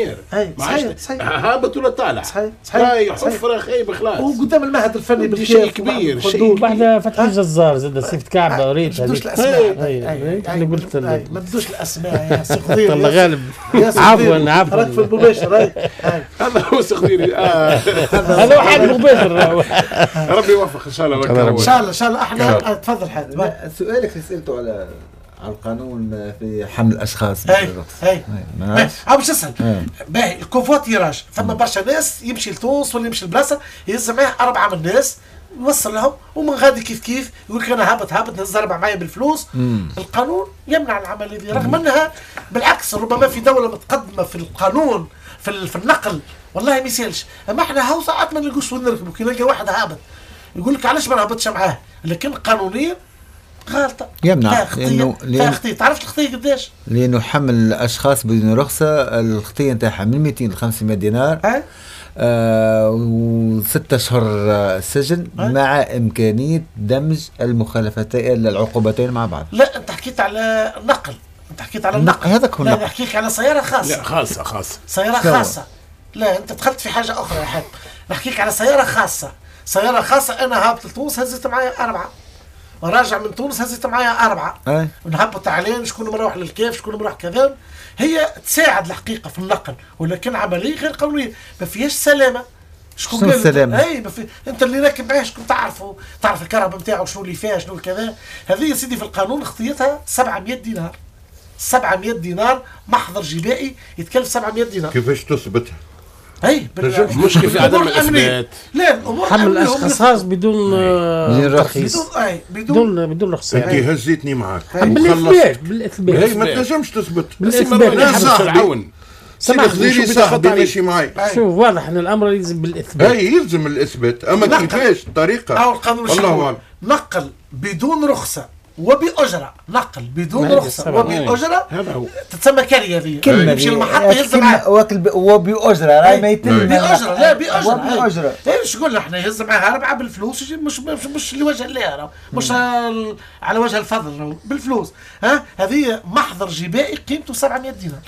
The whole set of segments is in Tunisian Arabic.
اي صحيح صحيح، هابط ولا طالع، صحيح صحيح، رايح حفره خايب خلاص، وقدام المعهد الفني بالكاف شيء كبير، شيء بعد فتح الجزار زاد سيفت كعبه ريت ما تدوش الاسماء، انا قلت ما تدوش الاسماء يا سي خضير، الله غالب، عفوا عفوا، راك في المباشر. هذا هو سي خضير، هذا هو حال المباشر. ربي يوفق ان شاء الله، ان شاء الله ان شاء الله. احنا تفضل حاتم، سؤالك اللي سالته على القانون في حمل الاشخاص. اي اي باش نسال باهي ال covoiturage، ثم برشا ناس يمشي لتونس ولا يمشي لبلاصه يهز معاه 4 من الناس يوصل لهم، ومن غادي كيف كيف يقول لك انا هابط هابط نهز 4 معايا بالفلوس. القانون يمنع العملية دي، رغم انها بالعكس ربما في دولة متقدمة في القانون في النقل والله ما يسالش، اما احنا هاو ساعات ما نلقوش وين نركبوا، كي نلقى واحد هابط يقول لك علاش ما نهبطش معاه، لكن قانونيا غلطة يمنع، لأنه خطية. تعرفت الخطية قداش؟ لأنه حمل الأشخاص بدون رخصة الخطية نتاعها من 200 ل 500 دينار و6 أشهر سجن مع إمكانية دمج المخالفتين العقوبتين مع بعض. لا أنت حكيت على النقل، أنت حكيت على النقل، هذاك هو النقل. لا نحكيك على سيارة خاصة. لا خاصة خاصة، سيارة خاصة. لا أنت دخلت في حاجة أخرى يا حاتم، نحكيك على سيارة خاصة، سيارة خاصة. أنا هابط لتونس هزيت معايا 4، راجع من تونس هزيت معايا 4، ونهبط عليه شكون مروح للكيف شكون مروح كذا. هي تساعد الحقيقة في النقل، ولكن عملية غير قانونية ما فيهاش سلامه. شكون السلامة؟ اي ما في... انت اللي راكب معاه شكون تعرفه، تعرف الكهرباء نتاعو شنو اللي فيها شنو كذا. هذه يا سيدي في القانون خطيتها 700 دينار، 700 دينار محضر جبائي يتكلف 700 دينار. كيفاش تثبتها؟ اي المشكل في عدم الاثبات. لا الامور حمل الاشخاص بدون ترخيص، بدون رخصه. انت هزيتني معاك بالاثبات، بالاثبات. هي ما تنجمش تثبت بالاثبات. لا صاحبي سيدي صاحبي ماشي معي. شوف واضح ان الامر يلزم بالاثبات. اي يلزم الاثبات، اما كيفاش الطريقة؟ او القانون الله اعلم. نقل بدون رخصه وبأجرة، نقل بدون رخصة وبأجرة تتسمى كارية هذه. كلمة يمشي للمحطة يهز معاه وبأجرة، راهي ما يتم بأجرة. لا بأجرة، وبأجرة. ايش قلنا احنا يهز معاه 4 بالفلوس، مش لوجه الله، مش على وجه الفضل، بالفلوس. ها هذه محضر جبائي قيمته 700 دينار.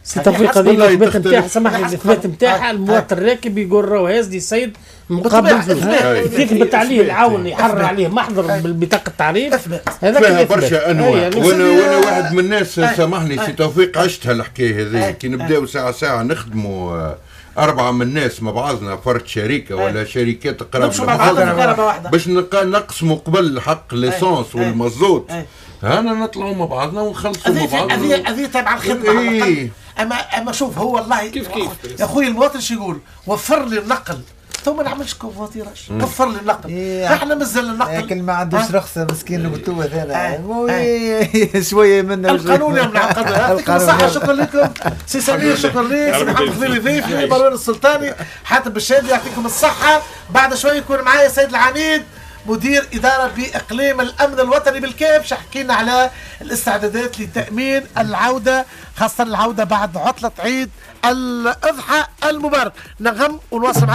سي توفيق هذه الاثبات نتاعها، سامحني الاثبات نتاعها المواطن الراكب يقول راهو هازني السيد مقابل فلوس، يثبت عليه العون يحرر عليه محضر بالبطاقه التعريف. هذا فيها برشا انواع. وانا واحد من الناس سامحني سي توفيق عشتها الحكاية هذه. كي نبداو ساعة ساعة نخدموا 4 من الناس مع بعضنا فرد شركة ولا شركات قراب باش نقسموا قبل حق l'essence والمازوت، هانا نطلعوا مع بعضنا ونخلصوا مع بعضنا. هذه تابعه الخدمة. إيه. اما شوف هو والله كيف كيف يا خويا المواطن شو يقول؟ وفر لي النقل، تو ما نعملش covoiturage، وفر لي النقل. إيه. احنا مازال النقل لكن ما عندوش رخصه مسكين القتوه هذا شوية منه. القانون يمنع القانون. يعطيكم الصحة، شكرا لكم سي سمير، شكرا لك سي محمد خليلي ضيفي، مروان السلطاني، حاتم بالشادي، يعطيكم الصحة. بعد شوي يكون معايا سيد العميد مدير إدارة بإقليم الأمن الوطني بالكاف، حكينا على الاستعدادات لتأمين العودة، خاصة العودة بعد عطلة عيد الأضحى المبارك. نغم ونواصل معكم.